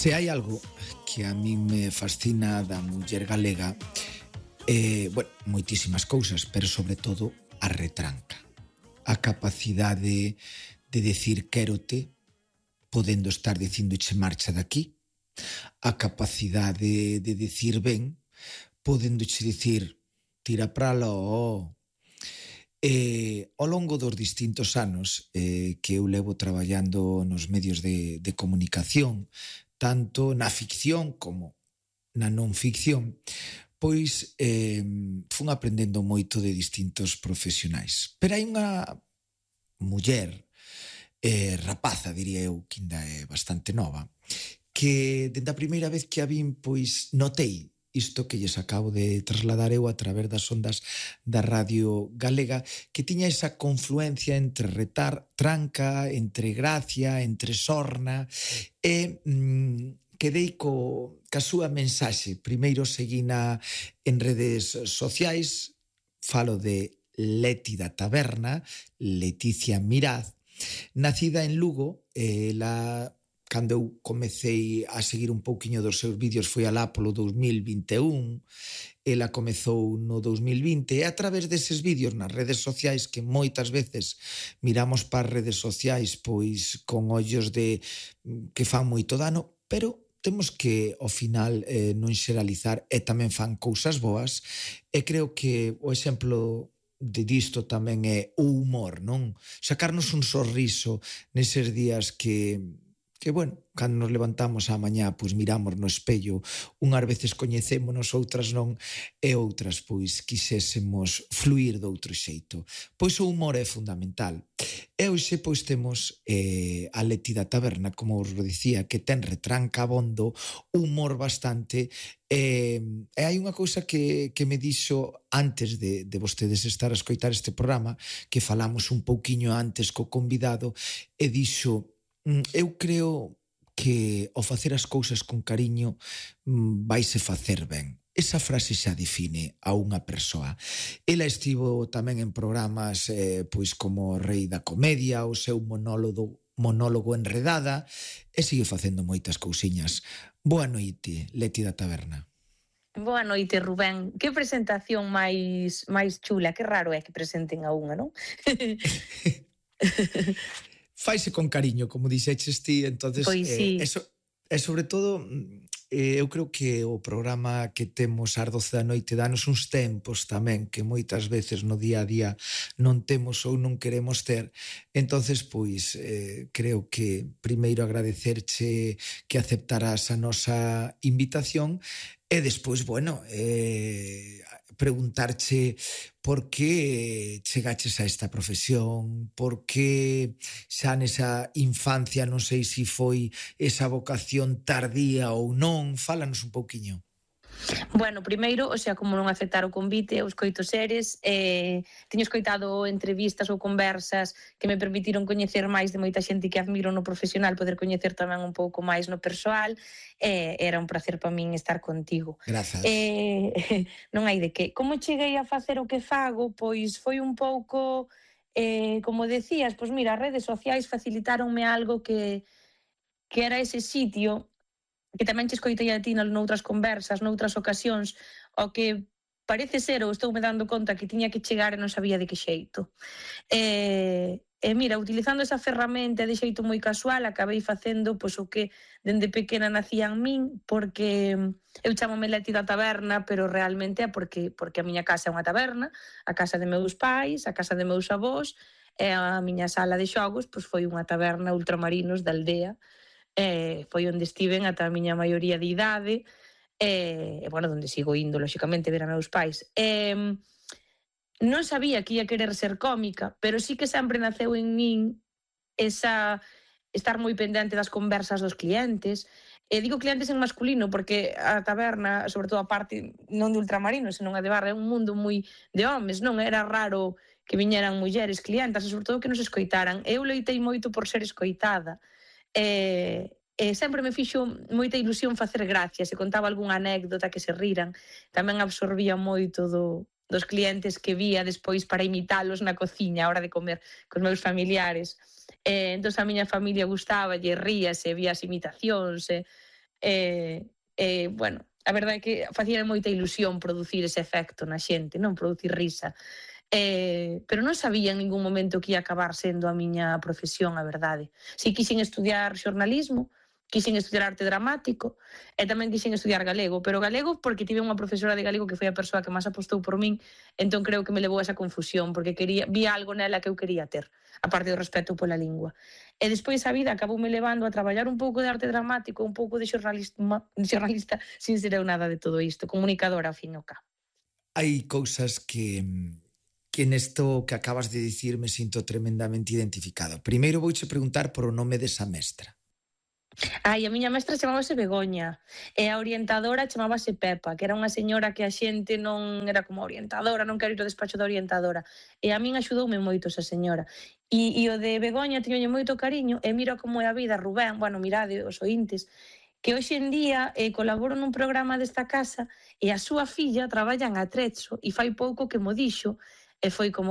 Se hai algo que a mí me fascina da muller galega, moitísimas cousas, pero sobre todo a retranca. A capacidade de decir quérote, podendo estar dicindoche marcha daqui. A capacidade de decir ben, podéndoche dicir tira pra lo. Ao longo dos distintos anos que eu levo traballando nos medios de comunicación, tanto na ficción como na non ficción, pois fun aprendendo moito de distintos profesionais. Pero hai unha muller, rapaza, diría eu, que ainda é bastante nova, que dende a primeira vez que a vin, pois notei isto que lles acabo de trasladar eu a través das ondas da Radio Galega, que tiña esa confluencia entre retranca, entre gracia, entre sorna, e quedei ca súa mensaxe. Primeiro seguina en redes sociais, falo de Leti da Taberna, Leticia Miraz, nacida en Lugo. Cando eu comecei a seguir un pouquiño dos seus vídeos foi alá polo 2021, ela comezou no 2020, e a través deses vídeos nas redes sociais, que moitas veces miramos para as redes sociais pois con ollos de que fan moito dano, pero temos que, ao final, non xeralizar, e tamén fan cousas boas, e creo que o exemplo disto tamén é o humor, non? Sacarnos un sorriso neses días que cando nos levantamos á mañá, pois miramos no espello, unhas veces coñecémonos, outras non, e outras, pois, quixésemos fluir doutro xeito. Pois o humor é fundamental. E hoxe, pois, temos a Leti da Taberna, como os dicía, que ten retranca abondo, humor bastante, e hai unha cousa que me dixo antes de vostedes estar a escoitar este programa, que falamos un pouquiño antes co convidado, e dixo: eu creo que ao facer as cousas con cariño vaise facer ben. Esa frase xa define a unha persoa. Ela estivo tamén en programas pois como Rei da Comedia, o seu monólogo Enredada, e sigue facendo moitas cousiñas. Boa noite, Leti da Taberna. Boa noite, Rubén. Que presentación máis chula, que raro é que presenten a unha, non? Faise con cariño, como dixeches ti, entonces, pois sí. E sobre todo, eu creo que o programa que temos ás 12 da noite danos uns tempos tamén que moitas veces no día a día non temos ou non queremos ter. Entonces, pois, creo que primeiro agradecerche que aceptaras a nosa invitación e despois, preguntarche por que chegaches a esta profesión, por que xa nesa infancia, non sei se foi esa vocación tardía ou non, fálanos un pouquiño. Bueno, primeiro, como non aceptar o convite, eu escoito seres, teño escoitado entrevistas ou conversas que me permitiron coñecer máis de moita xente que admiro no profesional, poder coñecer tamén un pouco máis no persoal, era un placer para min estar contigo. Grazas. Non hai de que. Como cheguei a facer o que fago? Pois foi un pouco, como decías, pois mira, as redes sociais facilitaronme algo que era ese sitio que tamén che escoitei a ti noutras conversas, noutras ocasións, o que parece ser, ou estou me dando conta que tiña que chegar e non sabía de que xeito. Mira, utilizando esa ferramenta de xeito moi casual, acabei facendo pois o que dende pequena nacía en min, porque eu chamome Leti da Taberna, pero realmente é porque a miña casa é unha taberna, a casa de meus pais, a casa de meus avós, e a miña sala de xogos pois foi unha taberna ultramarinos da aldea, foi onde estiven ata a miña maioría de idade, onde sigo indo, lóxicamente, ver a meus pais. Non sabía que ia querer ser cómica, pero sí que sempre naceu en min esa estar moi pendente das conversas dos clientes. Digo clientes en masculino porque a taberna, sobre todo a parte non de ultramarinos, senón a de barra, é un mundo moi de homes, non? Era raro que viñeran mulleres clientas e sobre todo que nos escoitaran. Eu loitei moito por ser escoitada. Sempre me fixo moita ilusión facer gracia, se contaba algunha anécdota que se riran, tamén absorbía moito dos clientes que vía despois para imitalos na cociña a hora de comer cos meus familiares. Entón a miña familia gustáballe, ríase, vía as imitacións, Bueno, a verdade é que facía moita ilusión producir ese efecto na xente, non producir risa. Pero non sabía en ningún momento que ia acabar sendo a miña profesión, a verdade. Si quixen estudiar xornalismo, quixen estudiar arte dramático e tamén quixen estudiar galego, pero galego porque tive unha profesora de galego que foi a persoa que máis apostou por min, entón creo que me levou a esa confusión, porque vi algo nela que eu quería ter, aparte do respeto pola lingua. E despois a vida acaboume levando a traballar un pouco de arte dramático, un pouco de xornalista sin ser eu nada de todo isto, comunicadora ao fin e ao cabo. Hai cousas que nesto que acabas de dicir me sinto tremendamente identificado. Primeiro vouche preguntar por o nome desa mestra. Ai, a miña mestra chamábase Begoña e a orientadora chamábase Pepa, que era unha señora que a xente non era como orientadora, non quero ir ao despacho da orientadora. E a min axudoume moito esa señora. E o de Begoña tiñolle moito cariño e mira como é a vida, Rubén, bueno, mirade os ointes, que hoxe en día colaboro nun programa desta casa e a súa filla traballa en Atrezo e fai pouco que mo dixo e foi como,